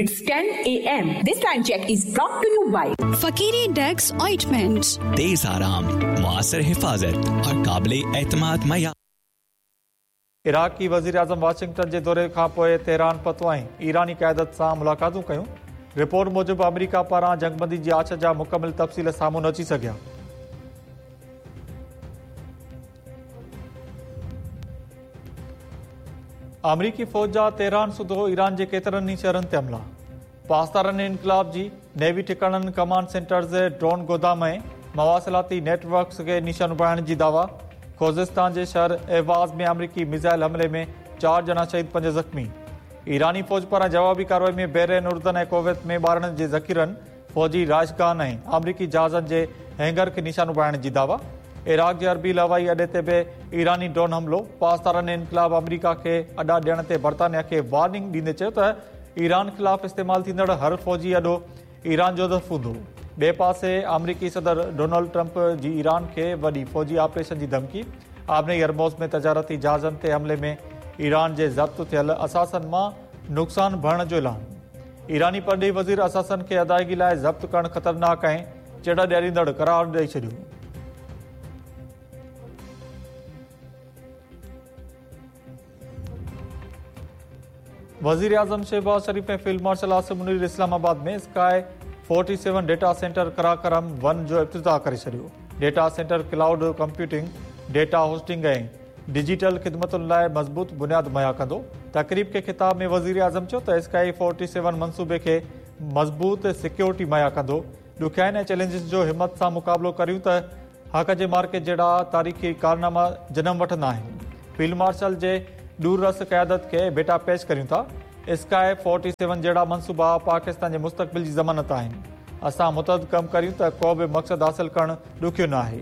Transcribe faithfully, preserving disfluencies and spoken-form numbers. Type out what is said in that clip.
It's ten A M. This time check is brought to you by Fakiri Dex Ointment. तेज आराम, मुआसर हिफाजत और काबिल एतमाद मया। इराकी वज़ीर आज़म वाशिंगटन जे दौरे खां पोइ तेहरान पहुतो ऐं ईरानी क़यादत सां मुलाक़ातूं कयूं। रिपोर्ट मूजिबि अमेरिका पारां जंगबंदी जी आछ जा मुकमिल तफ़सील साम्हूं न अची सघिया। अमरीकी फ़ौज जा तेहरान सुधो ईरान जे केतिरनि ई शहरनि ते हमला। पासदारनि इनकलाब जी नेवी ठिकाणनि, कमांड सेंटर्स, ड्रोन गोदाम ऐं मवासिलाती नेटवर्क्स खे निशानो बणाइण जी दावा। खोजिस्तान जे शहर एवाज़ में अमरीकी मिसाइल हमले में चार ॼणा शहीद, पंज ज़ख़्मी। ईरानी फ़ौज पारां जवाबी कार्रवाई में बहरीन, उर्दन ऐं कुवैत में ॿारनि जे ज़ख़ीरनि, फ़ौजी रिहाइशगाहनि ऐं अमरीकी जहाज़नि जे हैंगर खे निशानो बणाइण जी दावा। इराक जे अरबील हवाई अॾे ते बि ईरानी ड्रोन हमलो। पासदारनि इनकलाब अमरीका खे अॾा ॾियण ते बर्तानिया खे वार्निंग ॾींदे चयो त ईरान ख़िलाफ़ इस्तेमालु थींदड़ हर फ़ौजी अॾो ईरान जो हदफ़ हूंदो। ॿिए पासे अमरीकी सदर डोनाल्ड ट्रंप जी ईरान खे वॾी फ़ौजी ऑपरेशन जी धमकी। आबनई हरमोज़ में तजारती जहाज़नि ते हमले में ईरान जे ज़ब्त थियल असासनि मां नुक़सानु भरण जो ऐलान। ईरानी परॾेही वज़ीर असासनि खे अदायगी लाइ ज़ब्त करणु ख़तरनाक ऐं चिड़ ॾियारींदड़ करार ॾेई छॾियो। वज़ीर आज़म शहबाज शरीफ ऐं field marshal Asim Munir Islamabad में sky forty seven data centre Karakoram one जो इफ्तिताह करे छॾियो। Data centre cloud computing, data hosting ऐं डिजिटल ख़िदमतुनि लाइ मज़बूत बुनियाद मुहैया कंदो। तक़रीब खे ख़िताब में वज़ीर आज़म चयो त स्काई फोर्टी सेवन मनसूबे खे मज़बूत सिक्योरिटी मुहैया कंदो। ॾुखियाइनि ऐं चैलेंजिस जो हिमत सां मुक़ाबिलो करियूं त हक़ जे मार्के जहिड़ा तारीख़ी कारनामा जनम वठंदा आहिनि। फील्ड मार्शल जे दूररस क़यादत खे भेटा पेश करियूं था। स्काई फोर्टी सेवन जहिड़ा मनसूबा पाकिस्तान जे मुस्तक़बिल जी ज़मानत आहिनि। असां मुतहद कमु करियूं त को बि मक़सदु हासिल करणु ॾुखियो न आहे।